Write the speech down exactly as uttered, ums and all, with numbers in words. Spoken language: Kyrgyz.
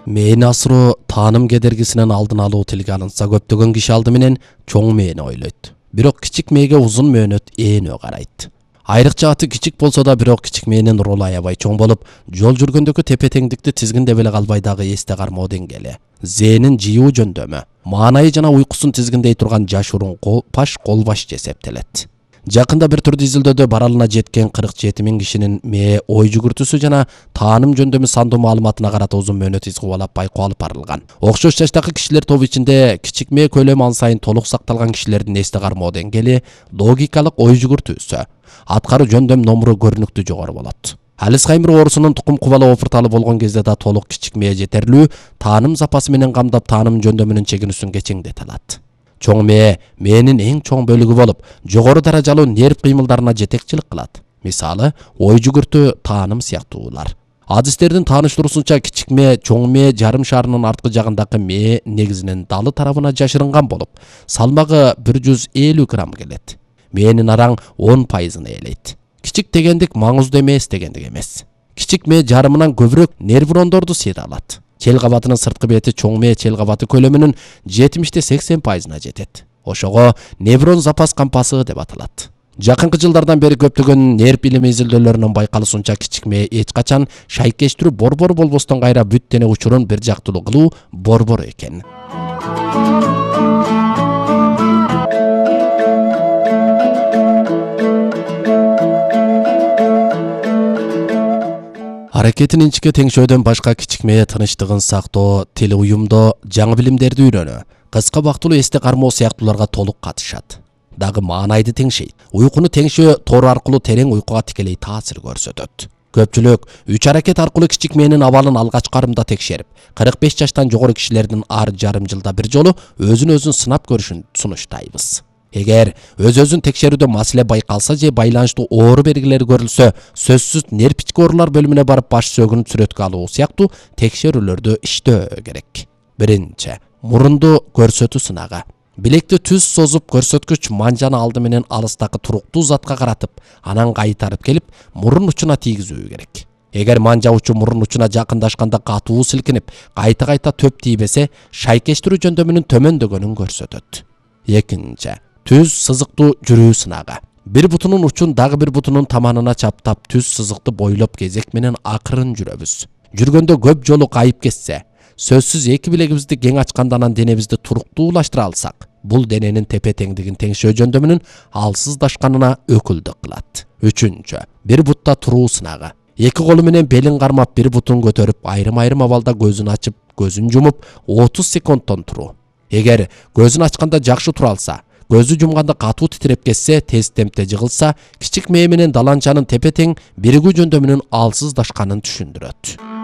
Мээни асыруу тааным кедергисинен алдын алуу тилге алынса, көптөгөн киши алды менен чоң мээни ойлойт. Бирок кичик мээге узун мөөнөт ээнөө карайт. Айрыкча аты кичик болсо да, бирок кичик мээнин ролу аябай чоң болуп, жол жүргөндөгү тепе-теңдикти тизгиндеп эле калбай дагы эсте кармоо деңгээли. Зээнин жыйуу жөндөмү, маанайы жана уйкусун тизгиндей турган жашыруун паш колбаш эсептелет. Жакында бир түрдүү изилдөөдө баралына жеткен кырк жети миң кишинин мээ ой жүгүртүүсү жана тааным жөндөмү сандуу маалыматына карата узун мөөнөт из кубалап байкоо алып барылган. Окшош жаштагы кишилер тобу ичинде кичик мээ көлөмү ан сайын толук сакталган кишилердин эсте кармоо деңгээли, логикалык ой жүгүртүүсү, аткаруу жөндөм номуру көрүнүктүү жогору болот. Альцгеймер оорусунун тукум кубалы опурталы болгон кезде да толук кичик мээ жетерлүү тааным запасы менен камдап тааным жөндөмүнүн чегинүүсүн кечеңдете алат. Чоң мээ мээнин эң чоң бөлүгү болуп, жогору даражалуу нерв кыймылдарына жетекчилик кылат. Мисалы, ой жүгүртүү, тааным сыяктуулар. Адистердин тааныштыруусунча, кичик мээ чоң мээ жарым шарынын арткы жагындагы мээ негизинен далы тарабына жашырынган болуп, салмагы бир жүз элүү грамм келет. Мээнин араң он пайызын ээлейт. Кичик дегендик маңыздуу эмес дегендик эмес. Кичик мээ жарымынан көбүрөөк нейрондорду сыйра алат. Чел кабатынын сырткы бети чоң мээ чел кабаты көлөмүнүн жетимиште сексен пайызына жетет. Ошого неврон запас кампасы деп аталат. Жакынкы жылдардан бери көптөгөн нерв билими изилдөөлөрүнүн байкалышынча, кичик мээ эч качан шайкештирүү борбор болбостон кайра бүт дене учурун бир жактылуу кылуу борбор экен. Аракетин инчке теңшөөдөн башка кичик мээ тынычтыгын сактоо, тил уюмдоо, жаңы билимдерди үйрөнүү, кыска убактылуу эсте кармоо сыяктууларга толук катышат. Дагы маанайды теңшейт. Уйкуну теңшөө тор аркылуу терең уйкуга тикелей таасир көрсөтөт. Көпчүлүк үч аракет аркылуу кичик мээнин абалын алгач карымда текшерип, кырк беш жаштан жогору кишилердин ар жарым жылда бир жолу өзүн өзүн сынап көрүшүн сунуштайбыз. Эгер өз-өзүн текшерүүдө маселе байкалса же байланыштуу оору белгилери көрүлсө, сөзсүз нерв ички оорулар бөлүмүнө барып баш сөөгүн сүрөткө алуу сыяктуу текшерүүлөрдү иштөө керек. Биринчи, мурунду көрсөтүү сынагы. Билекти түз созуп, көрсөткүч манжаны алды менен алыстагы туруктуу затка каратып, анан кайтарып келип, мурун учуна тийгизүү керек. Эгер манжа учу мурун учуна жакындашканда катуу силкинип, кайта-кайта төп тийбесе, шайкештирүү жөндөмүнүн төмөндөгөнүн көрсөтөт. Экинчи, түз сызыктуу жүрүү сынагы. Бир бутунун учун дагы бир бутунун таманына чаптап, түз сызыкты бойлоп кезек менен акырын жүрөбүз. Жүргөндө көп жолу кайып кетсе, сөзсүз эки билегибизди кең ачканда анан денебизди туруктуулаштыра алсак, бул дененин тепе-теңдигин теңшөө жөндөмүнүн алсыздашканына өкүлдүк кылат. Үчүнчү, бир бутта туруу сынагы. Эки колу менен белин кармап, бир бутун көтөрүп, айрым-айрым абалда көзүн ачып, көзүн жумуп, отуз секундтон туруу. Эгер көзүн ачканда жакшы тура алса, көзү жумганда катуу титиреп кетсе, тез темпте жыгылса, кичик мээ менен даланчанын тепе-тең биригүү жөндөмүнүн алсыздашканын түшүндүрөт.